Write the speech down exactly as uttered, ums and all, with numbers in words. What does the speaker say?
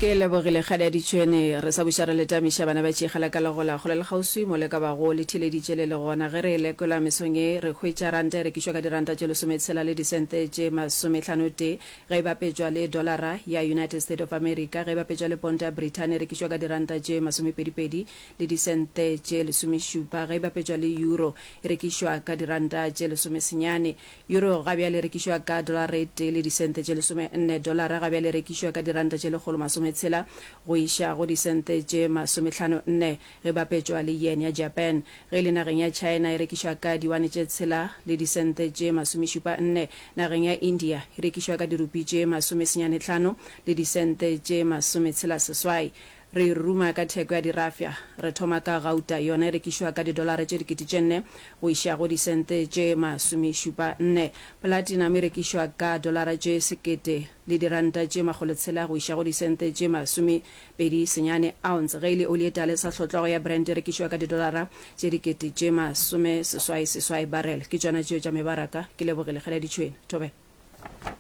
Ke lebogile kgale ya ditšhwene. Re sa buša re le tamiša bana ba tšegela ka legola kgole le kgauswi mo le ka bago le theeleditše le le gona. Ge re e lekola mesong ye re hwetša ranta e rekišwa ka diranta tše lesometshela le disente tše masomehlano tee ge e bapetšwa le dolara ya United State of America. Ge e bapetšwa le ponto ya Brithani e rekišwa ka diranta tše masomepedipedi le disente tše lesomešupa. Ge e bapetšwa le euro e rekišwa ka diranta tše lesomesenyane. Euro ga bjale e rekišwa ka dolara e tee le disente tše lesomenne. Dolara ga bjale e rekišwa ka diranta tše lekgolo masometshela go iša go disente tše masomehlano nne ge bapetšwa le yen ya Japan. Ge e le nageng ya China e rekišwa ka diwane tše tshela le disente tše masomešupa nne. Nageng ya India e rekišwa ka dirupi tše masomesenyane hlano le disente tše masometshela seswai. Re ruma ka theko ya dirafša. Re thoma ka gauta, yona e rekišwa ka didolara tše dikete tše nne go iša go disente tše masomešupa nne. Platinum e rekišwa ka dolara tše sekete le diranta tše makgolotshela go iša go disente tše masomepedi senyane ounce. Ge e le oli e tala e sa hlotlwago ya Brent e rekišwa ka didolara tše dikete tše masome seswai seswai barrel. Ke tšona tšeo tša mebaraka. Ke lebogile. Kgale ya ditšhwene. Thobela.